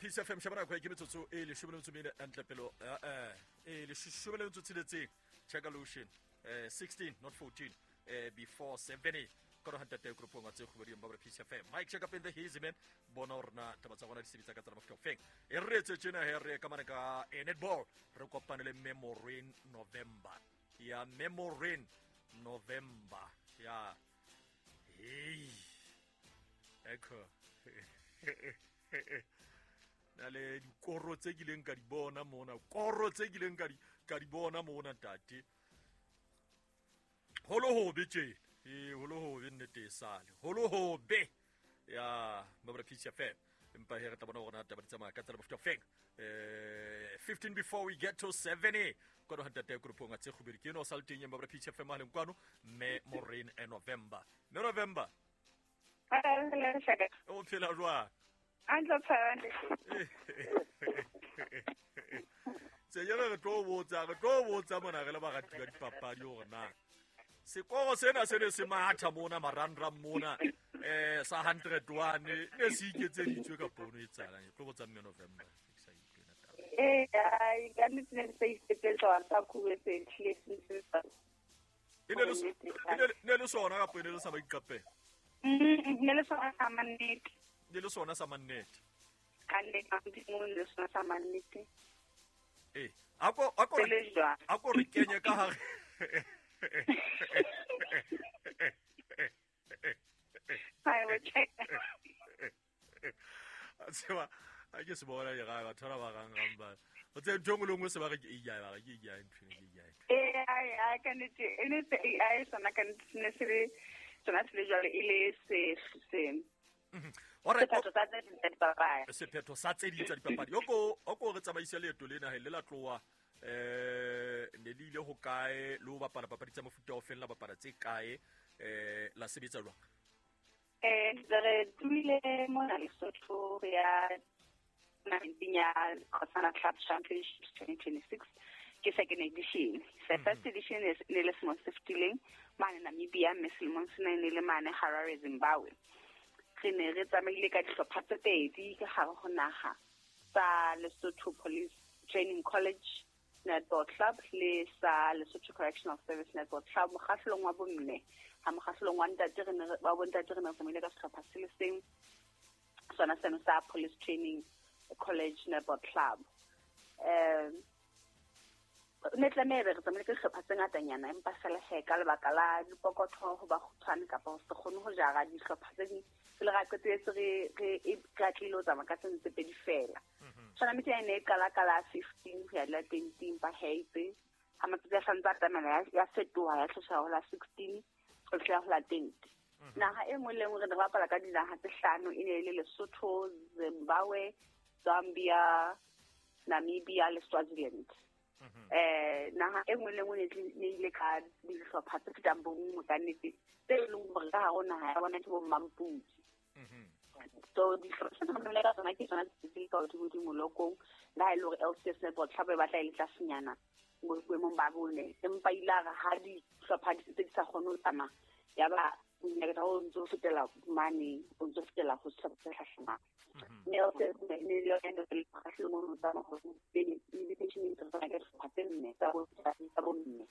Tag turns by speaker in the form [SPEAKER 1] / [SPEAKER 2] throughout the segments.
[SPEAKER 1] Peace FM sheba nako ke metsotso e 14 ntle pelo e 16 check lotion 16 not 14 before 7 ka ro hantate grupong tse khubedi ba Peace FM. Mike check up in the hazy man bona rona taba tsa gona di sebetsa ka tsela mofuta ofeng e re etse tjena he re ka mane ka netball re kopane le Memorin November ya Memorin November ya hey echo na le dikoro tse kileng ka di bona mona, koro tse kileng ka di bona mona ntate. Holo hobe tje, holo hobe nnete e sale. Holo hobe ya Mabra Peace FM. Empa he re tla bona hore na taba di tsamaya ka tsela mofuta ofeng. 15 before we get to 7 kwano ha ntate grupong tse kgubedi ke no sa le teng ya Mabra Peace FM haleng kwano mme Maureen November. Mme November. O phela jwang? Tse yona re tlo botsa mona re le barati ba dipapadi hore na sekoro sena se ne se matha mona marangrang mona sa 101 ne se iketseditswe ka pono e tsalang. Ke tlo botsa mme November ke sa utlwe na taba.
[SPEAKER 2] Ai ka nnete ne se iketsetsa sa khubetse tlile se.
[SPEAKER 1] E ne le sona kapa e ne le sa ba iqapela?
[SPEAKER 2] Ne le sona sa mannete.
[SPEAKER 1] Ne le sona sa mannete.
[SPEAKER 2] Ka nnete le sona sa mannete.
[SPEAKER 1] Ako re kenye ka hare. Tseba a ke se bona di ga batho ba gang ba. O tse ntho ngwe le nngwe se ba re ke AI ba re ke AI ntho ke
[SPEAKER 2] AI. AI ka nnete e ne se AI sona ka nnete ne se le sona se le jwale e le se
[SPEAKER 1] Sephetho sa tse ding tsa dipapadi. Sephetho sa tse ding tsa dipapadi. Oko re tsamaise leeto lena he le la tloha ne le ile ho kae le ho bapala papadi tsa mofuta o feng la bapala tse kae la sebetsa jwang?
[SPEAKER 2] Re tlohile mona Lesotho re ya tournamenteng ya Kgosana Club Championships 2026 ke second edition. The first edition ne le selemong se fetileng mane Namibia, mme selemong sena e ne le mane Harare, Zimbabwe. Re ne re tsamaile ka dihlopha tse pedi ka hare ho naha tsa Lesotho Police Training College Netball Club le sa Lesotho Correctional Service Netball Club. Mokgahlelong wa bomme ha mokgahlelong wa ntate re ne ba bontate re ne re tsamaile ka sehlopha se le seng sona seno sa Police Training College Netball Club. Ne tlameha re tsamaile ka dihlopha tse ngatanyana empa fela he ka lebaka la dipokotho ho ba kgutshwane kapa ho se kgone ho jara dihlopha tse ding pele ra qetelletse re atlehile ho tsamaya ka tseno tse pedi fela. Tournament e ne e qala ka la 15 ho ya la 20 empa he itse ha matsatsi a santse a tsamaya ya fetoha ya tloswa ho la 16 ho fihla ho la 20. Naha e nngwe le nngwe re ne re bapala ka dinaha tse hlano, e ne e le Lesotho, Zimbabwe, Zambia, Namibia le Swaziland. Naha e nngwe le nngwe ne ile ka dihlopha tse fetang bonngwe ka nnete tse e leng hore ka hare ho naha ya bona ke bo mmampudi. So dihlopha tse re ka tsona ke tsona tse ka hodimo molokong, le ha e le hore LCS Netball Club e batla e le tlasenyana boemong ba bone, empa ile a re ha dihlopha di tse di sa kgone ho tsamaya ya ba monyetla o ntso fetela mane, o ntso fetela ho sehlopha se hlahlamang. Mme LCS ne le yona e le mokgahlelong o tsamaya hore invitation e ntse tsamaya ka dihlopha tse nne tsa bomme.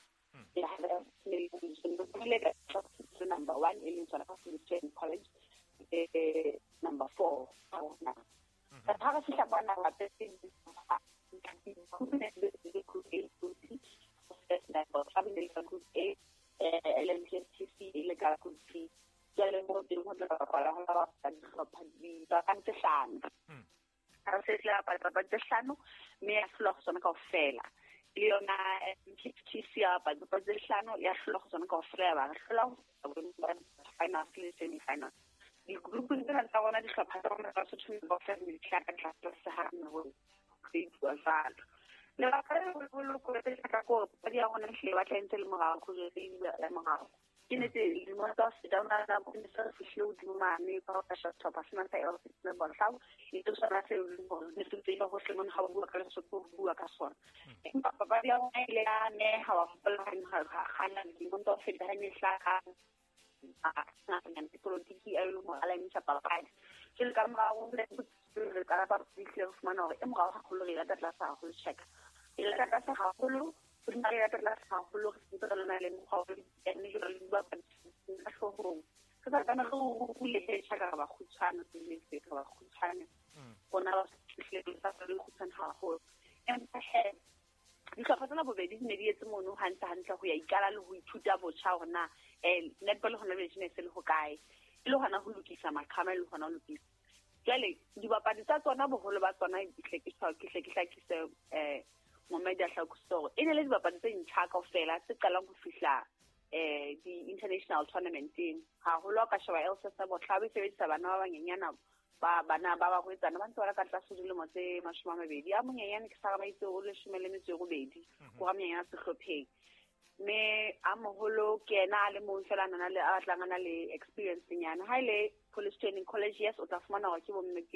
[SPEAKER 2] Number 1 e leng tsona Police Training College, number 4 ha re fihla kwana hape group A, LMPSTC e le ka group B. Jwale mo teng ho tla bapala ho la dihlopha dipapadi tse hlano. Ha re se tla bapala dipapadi tse hlano mme ya hlolwa ho tsona kaofela. Le yona MPSTC ya bapala dipapadi tse hlano ya hlolwa ho tsona kaofela, ya ba re hlola ho finals le semi-finals. Di-grouping tsena tsa rona dihlopha tsa rona tsa Sotho kaofela di tla ka tlase ha re ho bua jwalo. Lebaka le leholo ko re ka ko papadi ya rona ehlile batla e ntse le morao, ho jwetse ebile ya morao. Ke nnete dilemo tsa ho feta hona nako ne se re fihlile hodimo mane ka ho ka sehlopha sena sa LCS Netball Club, e le sona se leng hore ne se tseba hohle mona ha o bua ka Lesotho ho bua ka sona. Empa papadi ya rona ile ya neha wa hopola ha kgana dilemong tsa ho feta ha ne hlaha dipolotiki a e leng hore a laemisha papadi. Jwale ka morao re qala papadi ehlile re fumana hore e morao haholo re e lata tlase haholo check. E lata tlase haholo, hodima re e lata tlase haholo re sentse re na le mokgwa wa dipiane jwalo le dibapadi ka hloohong. Re sa tlameha re rule he tjhaka re ba kgutshwane re ba kgutshwane. Rona ba fihlile re sa le kgutshwane haholo. Empa he dihlopha tsena bobedi di ne di etse mono hantle hantle ho ya ikala le ho ithuta botjha hore na netball hona jwale tjena e se le hokae. E le hona ho lokisa maqhama, e le hona ho lokisa. Jwale dibapadi tsa tsona boholo ba tsona ke hle ke hlakise momedi a hlakisitse hore e ne le dibapadi tse ntjha kaofela tse qalang ho fihla di-international tournamenteng. Haholo ha o ka sheba LSS Botlhaba e sebedisa bana ba banyenyana ba bana ba barwetsana ba ntse ba le ka tlase ho dilemo tse 20. A monyenyane ke sa re ba itse o 18, ko ra monyenyana sehlopheng. Mme a moholo ke yena a le mong fela a nang le a batlang a na le experience nyana. Ha ile Police Training College, yes, o tla fumana hore ke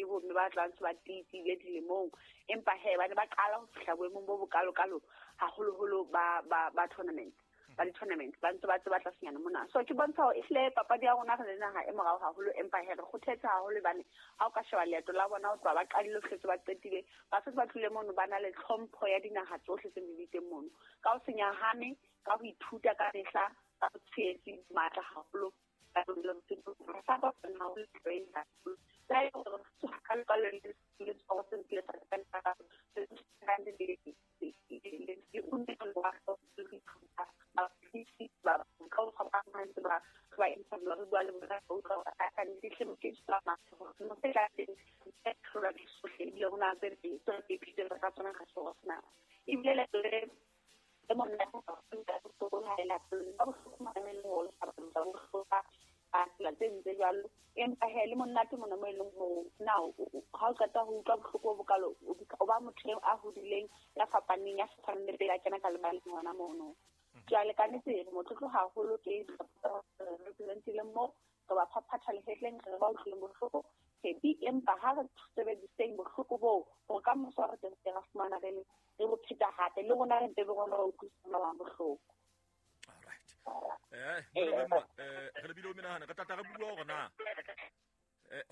[SPEAKER 2] bomme ba tlang se ba tiile dilemong. Empa he ba ne ba qala ho fihla boemong bo bokalokalo haholoholo ba tournament. Ba di-tournament ba ntse ba tseba tlasenyana mona. So ke bontsha hore ehlile papadi ya rona re le naha e morao haholo, empa he re kgothetse haholo hobane ha o ka sheba leeto la bona ho tloha ba qadile ho fihletse ba qetile, ba setse ba tlile mono ba na le tlhompho ya dinaha tsohle tse di teng mono. Ka ho se nyahame, ka ho ithuta ka mehla, ka ho tshehetsi matla haholo, ka ho empa he le monate mona mo e leng hore na ha o qeta ho utlwa bohloko bo bokalo o ba motho a hodileng ya fapaneng ya sa tshwaneng le pele a kena ka lebaleng hona mono. Jwale ka nnete re motlotlo haholo ke representileng mo re ba phaphatha lehetleng re ba utlwileng bohloko happy, empa ha re sebediseng bohloko boo hore ka moso re tle re fumana re bo pheta hape le rona re mpe be rona ba utlwisisa ba bang bohloko.
[SPEAKER 1] All right. Re lebile o menahana re tlatla re bua hore na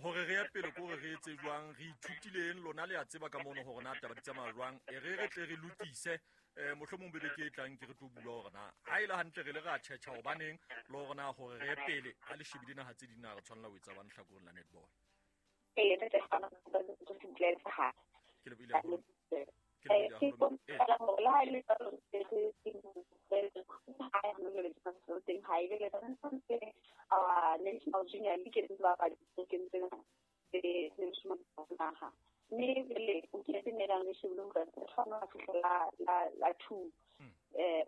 [SPEAKER 1] hore re ye pele ko re etse jwang, re ithutileng lona le a tseba ka mono hore na taba di tsamaya jwang, e re tle re lokise mohlomong bebe ke e tlang ke re tlo bua hore na ha e le hantle re le ra tjhetjha hobaneng le hore na hore re ye pele ha le shebile naha tse ding na re tshwanela ho etsa bang hlakoreng la netball. Ke lebohile haholo.
[SPEAKER 2] National Junior League mme jwale o kentse nelang le shebile hore re tshwanela ho fihla la 2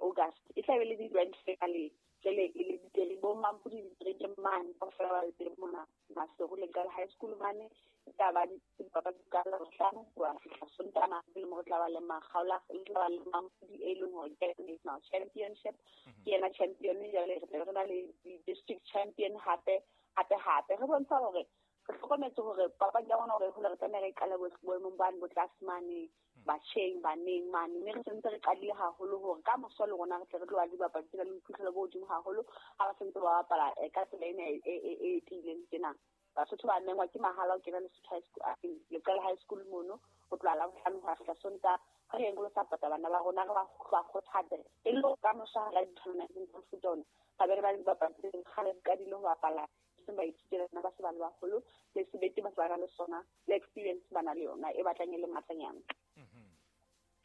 [SPEAKER 2] August e tla be le di-grand finale. Jwale e le diteri bo Mampudi ditereke mane kaofela ba le teng mona Maseru le Qala High School mane. E tla ba dipapadi ka Labohlano ho ya fihla Sontaha e leng hore tla ba le Makgaola, e tla ba le Mampudi e leng hore ke national championship. Ke yena champion jwale re tla be re na le di-district champion hape hape hape. Re bontsha hore re hlokometse hore papadi ya rona hore hole re tlameha re qale boemong bane bo tlase mane batjheng baneng mane, mme re sentse re qadile haholo hore ka moso le rona re tle re tlo ba le dibapadi tsena le boiphihlelo bo hodimo haholo ha ba sentse ba bapala ka tsela ena e tiileng tjena. Basotho ba mengwa ke mahala ho kena Lesotho High School, Leqele High School mono ho tloha Labohlano ho ya fihla Sontaha. Re yeng lo support bana ba rona, re ba kgothatse e le ka moso ha re di-tournamenteng tsa mofuta ona ra be re ba le dibapadi tse ding kgale di qadile ho bapala seng ba ithutela tsona ba se ba le baholo le sebete ba se ba na le sona le experience ba na le yona e batlang e le matlanyana.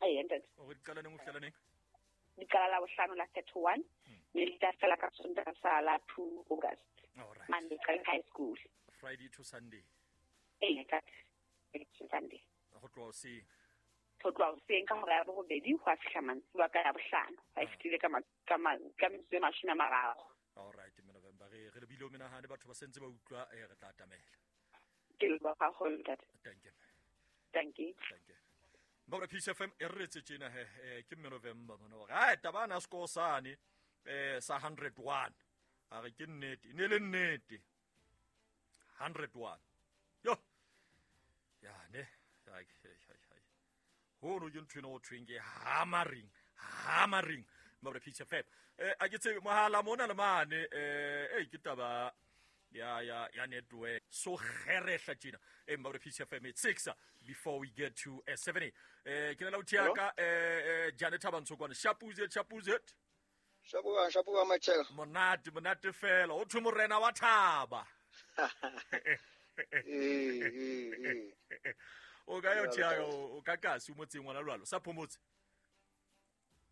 [SPEAKER 2] Ee, ntate.
[SPEAKER 1] O re di qala neng ho fihlela neng?
[SPEAKER 2] Di qala Labohlano la 31 mme di tla fela ka Sontaha sa la 2 August.
[SPEAKER 1] All right.
[SPEAKER 2] Mane Leqele High School.
[SPEAKER 1] Friday to Sunday.
[SPEAKER 2] Ee, ntate. Friday to Sunday.
[SPEAKER 1] Ho tloha hoseng.
[SPEAKER 2] Ho tloha hoseng ka hora ya borobedi ho ya fihla mantsiboya ka Labohlano. Ha e fetile ka metsotso e 30.
[SPEAKER 1] All right, mme November re lebile o menahane batho ba sentse ba utlwa re tla atamela.
[SPEAKER 2] Ke leboha haholo ntate.
[SPEAKER 1] Thank you.
[SPEAKER 2] Thank you.
[SPEAKER 1] Thank you. Mbabra Peace FM e re retse tjena he ke mme November mona hore ha taba na score sane sa 101 a re ke nnete, ne le nnete 101. Yo. Ya ne. Hai. Hono ke ntho ena ho thweng ke hammering. Mbabra Peace FM. A ke tsebe mohala mona le mane ke taba Ya ya ya network so kgerehla tjena. Emma re Peace FM at 6 before we get to 7. Ke na la uthiaka Janet Thabantsho kwana. Shapuzet, shapuzet.
[SPEAKER 3] Shapuwa, shapuwa machela.
[SPEAKER 1] Monate, monate fela. O thwe morena wa thaba.
[SPEAKER 3] Eh, eh, eh.
[SPEAKER 1] O ka yo thiaka o ka kasi o motseng ngwana lwalo. Sa phomotse.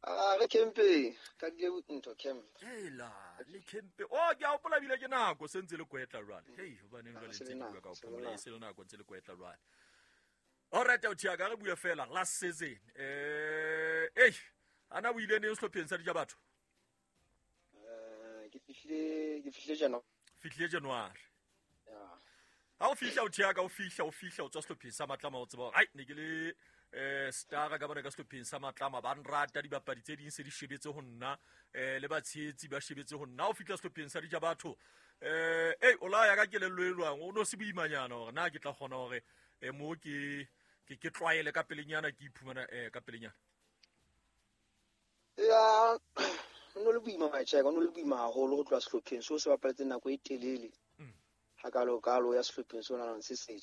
[SPEAKER 3] Ah, re campeng. Ka di ntho camp.
[SPEAKER 1] Hela, le campe. Oh, ke a hopola bile ke nako se ntse le kwetla jwale. Hei, hobaneng jwale
[SPEAKER 3] Se
[SPEAKER 1] ntse
[SPEAKER 3] le
[SPEAKER 1] le bua
[SPEAKER 3] nako,
[SPEAKER 1] ka ho
[SPEAKER 3] se le
[SPEAKER 1] phomola, e
[SPEAKER 3] nako.
[SPEAKER 1] se le nako ntse le kwetla jwale. Alright, o thiaka re bue fela last season. Ei, ana o ile neng sehlopheng sa dija batho?
[SPEAKER 3] Ke fihlile January.
[SPEAKER 1] Fihlile January.
[SPEAKER 3] Ya.
[SPEAKER 1] Ha o fihla o thiaka o fihla o fihla o tswa sehlopheng sa Matlama, o tseba hore ai ne ke le stara ka bona ka sehlopheng sa Matlama, ba nrata, dibapadi tse ding se di shebetse ho nna, le batshehetsi ba shebetse ho nna. Ha o fihla sehlopheng sa dija batho, ei o la ya ka kelello e jwang? O no se boimanyana hore na ke tla kgona hore mo ke tlwaele ka pelenyana, ke iphumana ka pelenyana?
[SPEAKER 3] Ya, no le boima macheka, no le boima haholo ho tloha sehlopheng seo se bapaletse nako e telele. Ha kalo kalo ya sehlopheng seo nang se setjha.